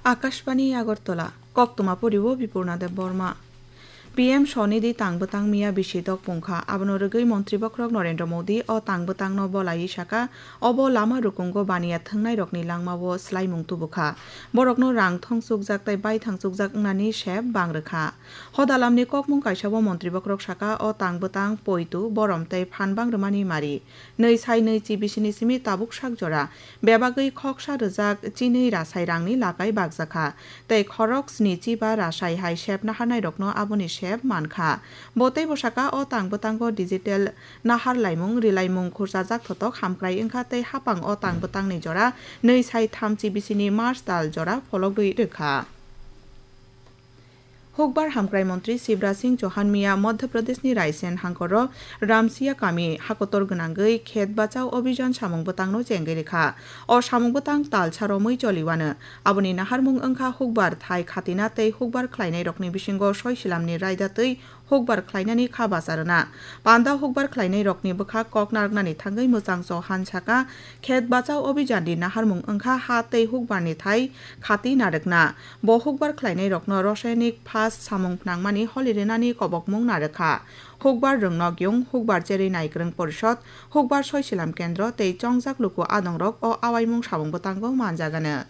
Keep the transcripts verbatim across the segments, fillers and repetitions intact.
Akashbani Agartala, koktwma poriwo Bipurna Debbarma. P M Swanidhi tang bwtang miya bisi dok pungkha, abono rwgwi Montri Bokhorok Narendra Modi o tang bwtangno bolaiwi saka, obo lama rukungo baniya thwngnairokni langmao swlaimung tubukha. Borokno rang thong chukjak tei baithang chukjak wngnani sep bang rwkha. Hodalamni kokmung kaisao Montri Bokhorok saka, o tang bwtang poitu, borom tei phan bang rwmani mari. Nwi sai nwi chi bisini simi tabuk sak jora bebagwi khoksa rwjak chinwi rasai rangni lakai bakjakha, tei khorok sni chi ba rasai hai sep naharnairokno aboni sep mankha. Bo teibo saka, o tang bwtango digital nahar laimung rilaimung khurchajak thotok hamkrai wngkha tei hapang o tang bwtangni jora nwi sai tham chi bisini March tal jora phologwi rwkha. Hukbar hamkrai montri Shivraj Singh Chauhan miya Madhya Pradeshni Raisen hangkoro Ramsiya kami hakotor gwnangwi khet bachao obhijan samung bwtangno chengwi rwkha. O samung bwtang talsa romwi choliwano. Aboni naharmung wngkha hukbar thai khatina tei hukbar khlainairokni bisingo soisilamni raida twi hukbar khlainani kha bacha rwna. Panda hukbar khlainairokni bwkha kok narwknani thangwi Mwchang Chauhan saka, khet bachao obhijandi naharmung wngkha ha tei hukbarni thai khati narwkna. Bo hukbar khlainairokno rasayanik phas samung phnangmani holi rwnani kobokmung narwkha. Hukbar rwngnok yung, hukbar cherwi naikwrwng porishod, hukbar soisilam kendro tei chongjak luku adongrok o awaimung samung bwtango manjagano.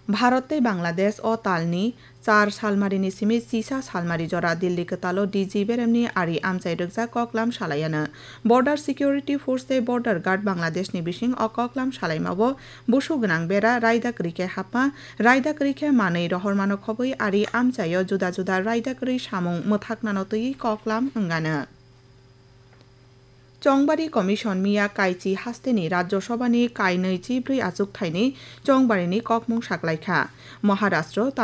Bharat tei Bangladesh o talni char salmarini simi chisa salmari jora Delhi kwtalo D G beremni ari amchai rwkjak koklam salaiano. Border Security Force tei Border Guard Bangladeshni bising o koklam salaimao busu gwnang bera raida kwrwi khe hapma, raida kwrwi khe manwi rohormano khobwi ari amchaio juda juda raida kwrwi samung mwthaknano twiwi koklam wngano. Chongbari Commission miya kaichi hasteni Rajya Sabhani kainwi chibrwi achukthai ni chongbarini kokmung saklaikha. Maharashtra,